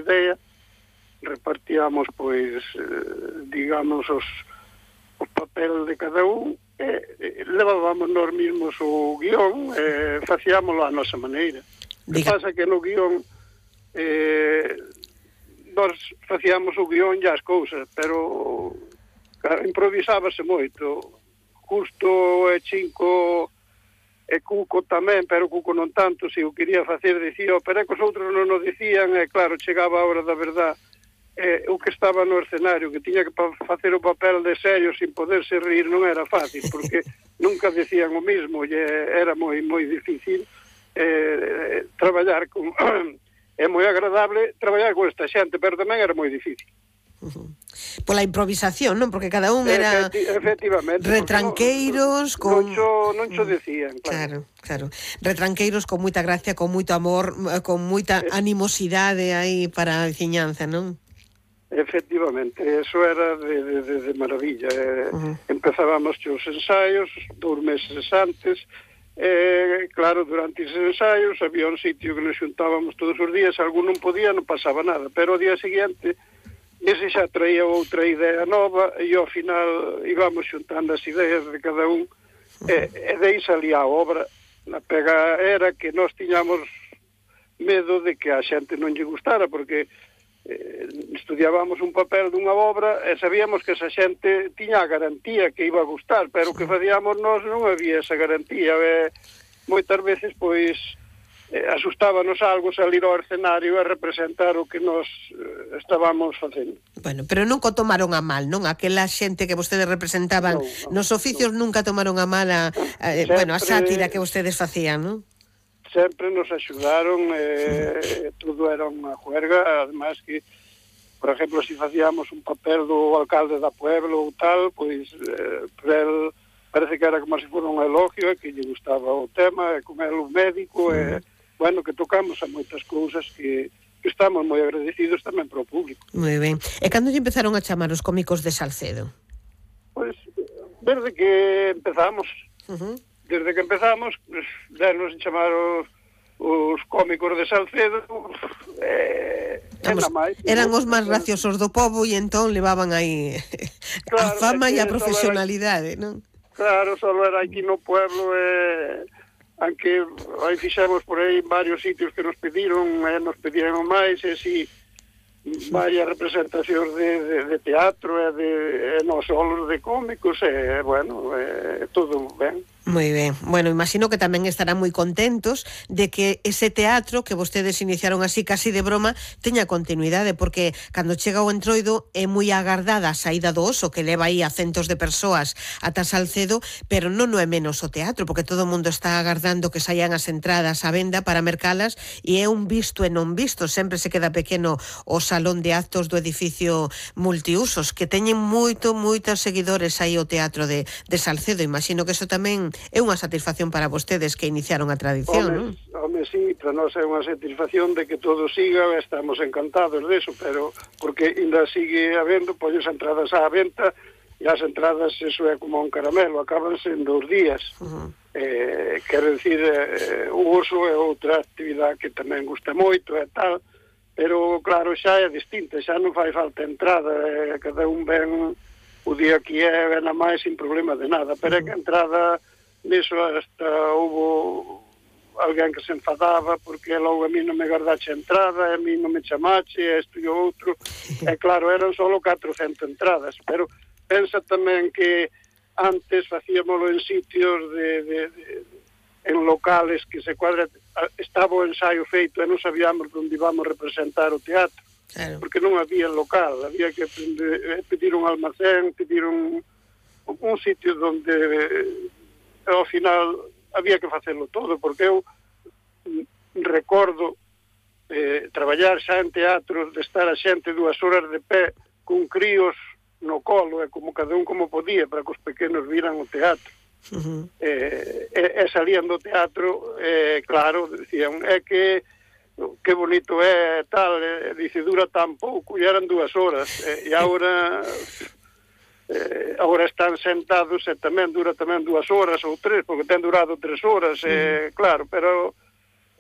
idea, repartíamos, pois, digamos, os papel de cada un, levábamos nós mesmos o guión, facíamoslo á nosa maneira. O que pasa que no guión nós facíamos o guión e as cousas, pero improvisábase moito. Justo e Chinco e Cuco tamén, pero Cuco non tanto, se o quería facer dicía, pero é que os outros non o dicían, e claro, chegaba a hora da verdad, o que estaba no escenario, que tiña que facer o papel de serio sin poderse rir, non era fácil, porque nunca decían o mismo, e era moi difícil traballar con... É moi agradable traballar con esta xente, pero tamén era moi difícil. Pola improvisación, non? Porque cada un era efectivamente, retranqueiros con... Non cho decían, claro. Claro. Retranqueiros con moita gracia, con moito amor, con moita animosidade aí para a veciñanza, non? Efectivamente, eso era de maravilla. Empezábamos os ensaios 2 meses antes. Claro, durante esos ensaios había un sitio que nos xuntábamos todos os días, algún non podía, non pasaba nada, pero ao día seguinte ese xa traía outra idea nova e ao final íbamos xuntando as ideas de cada un e dei salía a obra. A pega era que nós tiñamos medo de que a xente non lle gustara, porque estudiábamos un papel dunha obra e sabíamos que esa xente tiña a garantía que iba a gustar, pero o que facíamos nós non había esa garantía. Moitas veces, pois, asustábanos algo salir ao escenario e representar o que nós estábamos facendo. Bueno, pero nunca tomaron a mal, non? Aquela xente que vostedes representaban nos oficios nunca tomaron a mal a sátira que vostedes facían, non? Sempre nos axudaron, todo era unha juerga, además que, por exemplo, se facíamos un papel do alcalde da pueblo ou tal, pois, el parece que era como se fora un elogio, que lle gustaba o tema, e con el o médico, bueno, que tocamos a moitas cousas que estamos moi agradecidos tamén para o público. Moi ben. E cando lle empezaron a chamar os cómicos de Salcedo? Pois, desde que empezamos... Desde que empezamos, denos chamar os cómicos de Salcedo, eran os máis graciosos do pobo e entón levaban aí a fama e a profesionalidade, non? Claro, só era aquí no pueblo, aunque aí fixemos por aí varios sitios que nos pediron máis, e si varias representacións de teatro e non solos de cómicos, bueno, todo ben. Moi ben. Bueno, imagino que tamén estarán moi contentos de que ese teatro que vostedes iniciaron así casi de broma teña continuidade, porque cando chega o Entroido é moi agardada a saída do Oso, que leva aí a centos de persoas ata Salcedo, pero non é menos o teatro, porque todo o mundo está agardando que saian as entradas á venda para mercalas, e é un visto e non visto, sempre se queda pequeno o salón de actos do edificio multiusos, que teñen moitos seguidores aí o teatro de Salcedo. Imagino que eso tamén é unha satisfacción para vostedes que iniciaron a tradición, non? Home, sí, para nós é unha satisfacción de que todo siga, estamos encantados deso, pero porque ainda sigue habendo, pois, as entradas á venta, e as entradas, eso é como un caramelo, acabanse en 2 días. Quero dicir, o Oso é outra actividade que tamén gusta moito e tal, pero claro, xa é distinta, xa non fai falta entrada, cada un ven o día que ven a máis sin problema de nada, pero é que a entrada niso hasta houve alguén que se enfadaba porque logo a mí non me guardache a entrada, a mí non me chamache, isto e o outro, e claro, eran só 400 entradas, pero pensa tamén que antes facíamoslo en sitios en locales que se cuadra, estaba o ensaio feito e non sabíamos onde íbamos representar o teatro, porque non había local, había que pedir un almacén, pedir un sitio onde ao final había que facelo todo, porque eu recordo traballar xa en teatros, de estar a xente 2 horas de pé con críos no colo, e como cada un como podía, para que os pequenos viran o teatro. E salían do teatro, claro, decían, é que bonito é, tal, dice, dura tan pouco, e eran 2 horas, e agora están sentados e tamén dura tamén 2 horas ou 3, porque ten durado 3 horas, claro, pero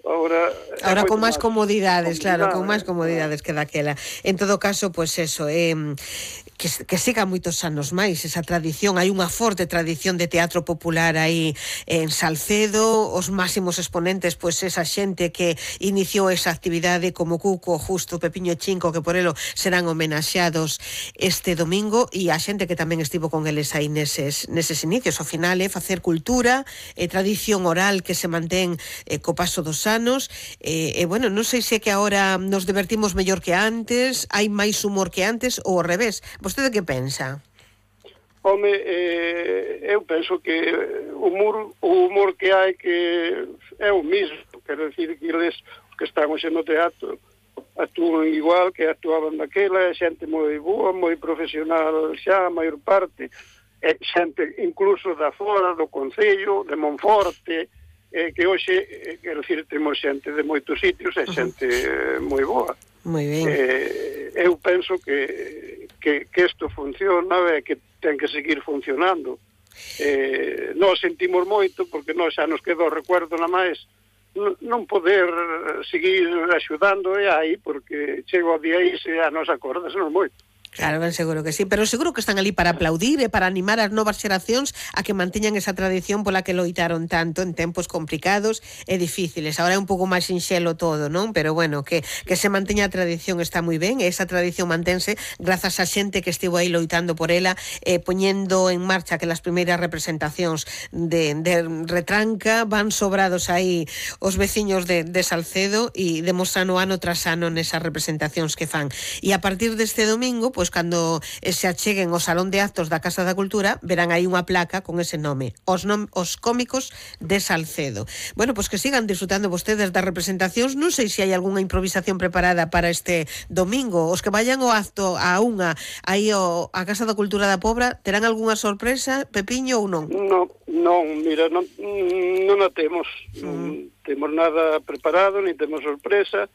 Ahora con máis comodidades, claro, con máis comodidades que daquela. En todo caso, pois eso, que siga moitos anos máis esa tradición. Hai unha forte tradición de teatro popular aí en Salcedo, os máximos exponentes, pois esa xente que iniciou esa actividade como Cuco, Justo, Pepiño Chinco, que por elo serán homenaxeados este domingo, e a xente que tamén estivo con eles aí neses inicios. Ao final facer cultura, tradición oral que se mantén co paso dos anos, bueno, non sei se que agora nos divertimos mellor que antes, hai máis humor que antes ou ao revés. Vostede que pensa? Home, eu penso que o humor que hai que é o mismo, quero dicir que eles que están hoxe no teatro actúan igual que actuaban daquela, é xente moi boa, moi profesional xa, a maior parte, é xente incluso da fora do Concello, de Monforte, que hoxe, quero dicir, temos xente de moitos sitios, é xente moi boa. Moi ben. Eu penso que isto funciona e que ten que seguir funcionando. Nós sentimos moito, porque nós xa nos quedou recuerdo na máis non poder seguir axudando aí, porque chego a día aí se a nos acordasnos moito. Claro, ben seguro que sí, pero seguro que están ali para aplaudir e para animar as novas xeracións a que manteñan esa tradición pola que loitaron tanto en tempos complicados e difíciles. Agora é un pouco máis sinxelo todo, non? Pero bueno, que se manteña a tradición está moi ben, e esa tradición mantense grazas a xente que estivo aí loitando por ela, poñendo en marcha que las primeiras representacións de retranca van sobrados aí os veciños de Salcedo e demostrando ano tras ano nesas representacións que fan. E a partir deste domingo, pois cando se acheguen ao Salón de Actos da Casa da Cultura, verán aí unha placa con ese nome, os cómicos de Salcedo. Bueno, pois que sigan disfrutando vostedes das representacións. Non sei se hai algunha improvisación preparada para este domingo. Os que vayan ao acto a aí a Casa da Cultura da Pobra, terán algunha sorpresa, Pepiño, ou non? Non, mira, non a temos. Non temos nada preparado, ni temos sorpresa.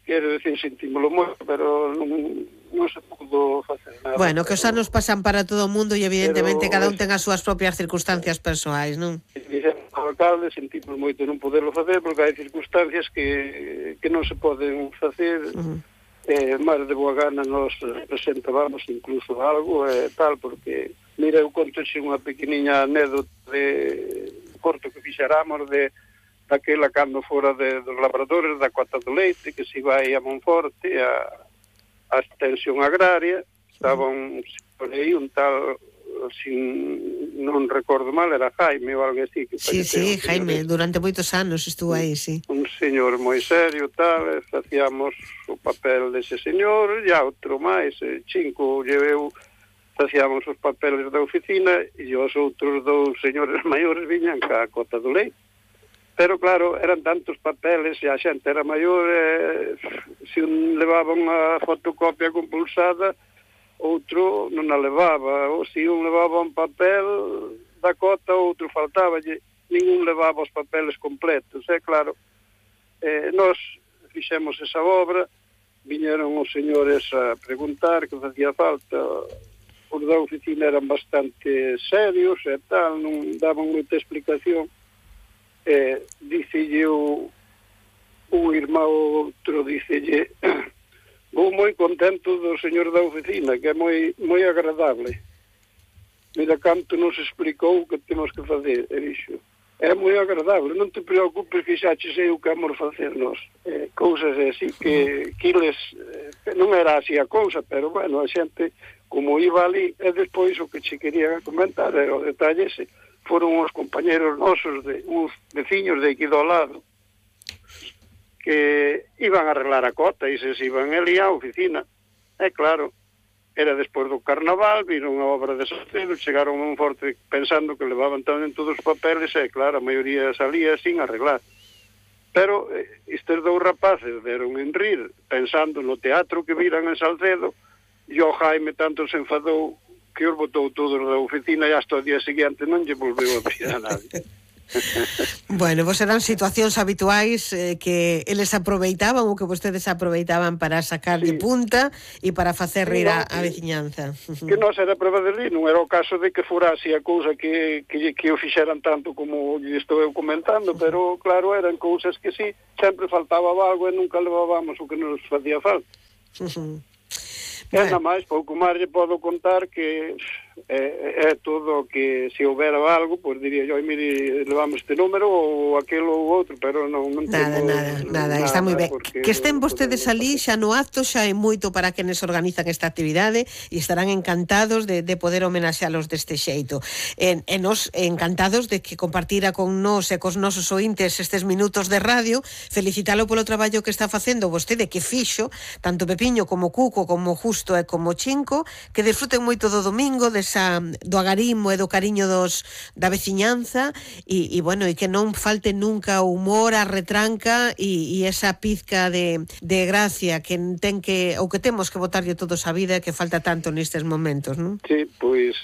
Quero dicir, sentímolo moito, pero non se pudo facer nada. Bueno, que os anos pasan para todo o mundo e evidentemente cada un ten as súas propias circunstancias persoais, non? Dixemos ao alcalde, sentimos moito non poderlo facer, porque hai circunstancias que non se poden facer. Máis de boa gana nos presentábamos incluso algo tal, porque mira, eu contoxe unha pequeniña anécdota de corto que fixeramos daquela cando fora dos labradores da Cota do Leite, que se vai a Monforte a extensión agraria, estaba un tal, non recordo mal, era Jaime ou algo así. Sí, Jaime, durante moitos anos estuvo aí, sí. Un señor moi serio, tal, facíamos o papel dese señor, e outro máis, cinco lleveu, facíamos os papeles da oficina, e os outros dous señores maiores viñan ca Cota do Leite. Pero claro, eran tantos papeles e a xente era maior, se un levaba unha fotocopia compulsada, outro non a levaba, ou se un levaba un papel da cota, outro faltaballe, ningún levaba os papeles completos. Claro, nós fixemos esa obra, viñeron os señores a preguntar que facía falta, os da oficina eran bastante serios e tal, non daban moita explicación. Dicelle o irmão outro, dicelle vou moi contento do señor da oficina, que é moi agradable, mira canto nos explicou o que temos que fazer, e dixo, é moi agradable, non te preocupes que xa che sei o que vamos facer nós, cousas así que eles, non era así a cousa, pero bueno, a xente como iba ali, e despois o que che quería comentar era o detalle ese. Foron os compañeros nosos, uns veciños de aquí do lado, que iban a arreglar a cota e se iban ali á oficina. Claro, era despois do carnaval, viron a obra de Salcedo, chegaron a Monforte pensando que levaban tamén todos os papeles, claro, a maioría salía sin arreglar. Pero estes dous rapaces deron en rir, pensando no teatro que viran en Salcedo, e o Jaime tanto se enfadou que os botou todos da oficina e hasta o día seguinte non lle volveu a pedir a nadie. Bueno, pues eran situacións habituais que eles aproveitaban ou que vostedes aproveitaban para sacar de punta e para facer rir a veciñanza. Que non era prova de rir, non era o caso de que fora así a cousa que o fixeran tanto como lle estou eu comentando, pero claro, eran cousas que sí, sempre faltaba algo e nunca levábamos o que nos facía falta. E nada máis, pouco máis lle podo contar que é todo que se houbera algo, pois diría yo, mire, levamos este número ou aquelo ou outro, pero non nada, está moi ben. Que estén vostedes ali xa no acto xa é moito para quenes organizan esta actividade e estarán encantados de poder homenaxealos deste xeito. E nos encantados de que compartira con nós e cos nosos ointes estes minutos de radio, felicitalo polo traballo que está facendo vostede, que fixo, tanto Pepiño como Cuco, como Justo e como Chinco, que disfruten moito do domingo, do agarimo e do cariño da veciñanza e bueno, e que non falte nunca o humor, a retranca e esa pizca de gracia que ten que, ou que temos que botarlle todos a vida, que falta tanto nestes momentos, non? Sí, pois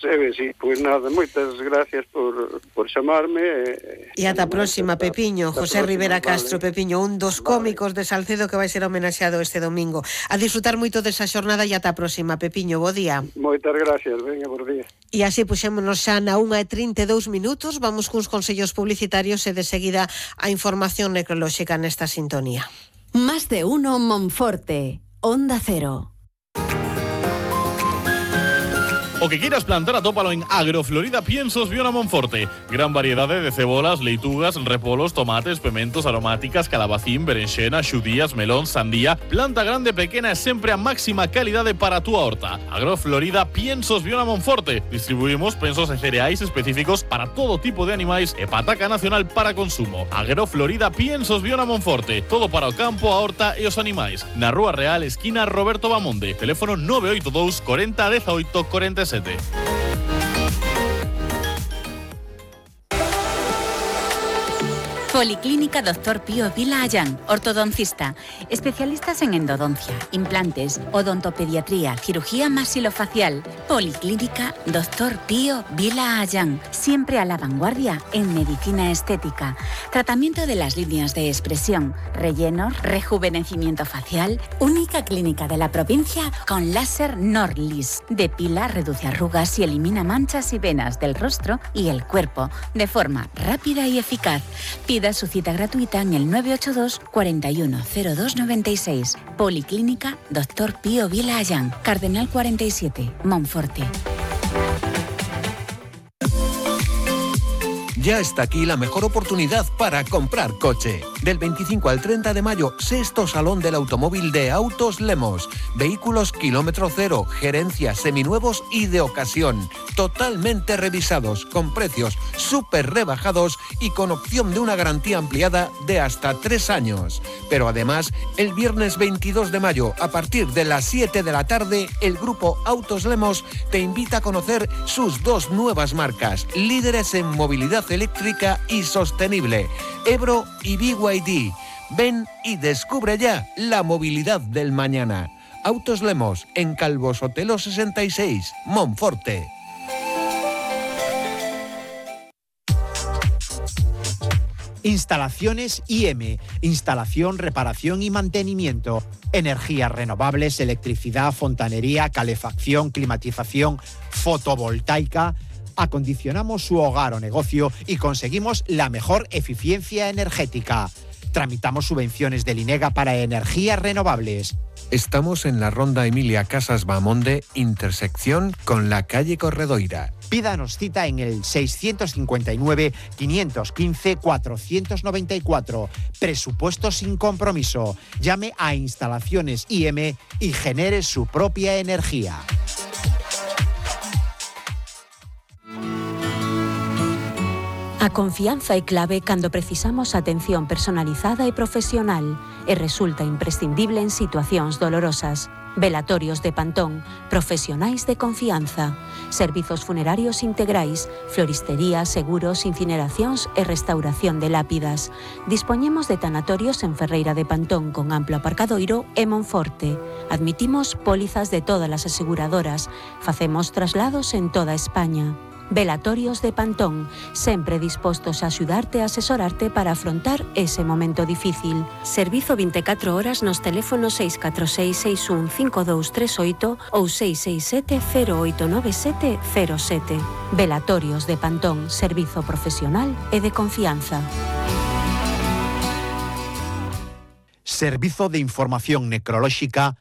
nada, moitas gracias por chamarme. E ata a próxima, Pepiño. José Rivera Castro, Pepiño, un dos cómicos de Salcedo que vai ser homenaxeado este domingo. A disfrutar moito desa xornada e ata a próxima, Pepiño, bo día. Moitas gracias, venga, bo día. E así puxémonos xa na 1:32 minutos, vamos cuns consellos publicitarios e de seguida a información necrolóxica nesta sintonía. Más de uno Monforte, Onda Cero. O que quieras plantar, atópalo en Agroflorida Piensos Viona Monforte. Gran variedade de cebolas, leitugas, repolos, tomates, pementos, aromáticas, calabacín, berenxena, xudías, melón, sandía. Planta grande, pequena e sempre a máxima calidade para a túa horta. Agroflorida Piensos Viona Monforte. Distribuímos pensos e cereais específicos para todo tipo de animais e pataca nacional para consumo. Agroflorida Piensos Viona Monforte. Todo para o campo, a horta e os animais. Na Rúa Real, esquina Roberto Bamonde. Teléfono 982 40 18 47. Policlínica Dr. Pío Vila Ayán, ortodoncista, especialistas en endodoncia, implantes, odontopediatría, cirugía maxilofacial. Policlínica Dr. Pío Vila Ayán, siempre a la vanguardia en medicina estética, tratamiento de las líneas de expresión, rellenos, rejuvenecimiento facial, única clínica de la provincia con láser Norlis, depila, reduce arrugas y elimina manchas y venas del rostro y el cuerpo de forma rápida y eficaz. Pida su cita gratuita en el 982 410296. Policlínica Dr. Pío Vila Ayán, Cardenal 47, Monforte. Ya está aquí la mejor oportunidad para comprar coche. Del 25 al 30 de mayo, sexto Salón del Automóvil de Autos Lemos. Vehículos kilómetro cero, gerencia, seminuevos y de ocasión. Totalmente revisados, con precios súper rebajados y con opción de una garantía ampliada de hasta 3 años. Pero además, el viernes 22 de mayo, a partir de las 7 de la tarde, el grupo Autos Lemos te invita a conocer sus 2 nuevas marcas, líderes en movilidad eléctrica y sostenible, Ebro y BYD. Ven y descubre ya la movilidad del mañana. Autos Lemos, en Calvo Sotelo 66, Monforte. Instalaciones IM, instalación, reparación y mantenimiento. Energías renovables, electricidad, fontanería, calefacción, climatización, fotovoltaica. Acondicionamos su hogar o negocio y conseguimos la mejor eficiencia energética. Tramitamos subvenciones del INEGA para energías renovables. Estamos en la Ronda Emilia Casas Bamonde, intersección con la calle Corredoira. Pídanos cita en el 659-515-494. Presupuesto sin compromiso. Llame a Instalaciones IM y genere su propia energía. A confianza é clave cando precisamos atención personalizada e profesional e resulta imprescindible en situacións dolorosas. Velatorios de Pantón, profesionais de confianza. Servizos funerarios integrais, floristería, seguros, incineracións e restauración de lápidas. Dispoñemos de tanatorios en Ferreira de Pantón con amplo aparcadoiro e Monforte. Admitimos pólizas de todas as aseguradoras. Facemos traslados en toda España. Velatorios de Pantón, sempre dispostos a axudarte e asesorarte para afrontar ese momento difícil. Servizo 24 horas nos teléfonos 646615238 ou 667089707. Velatorios de Pantón, servizo profesional e de confianza. Servizo de Información Necrolóxica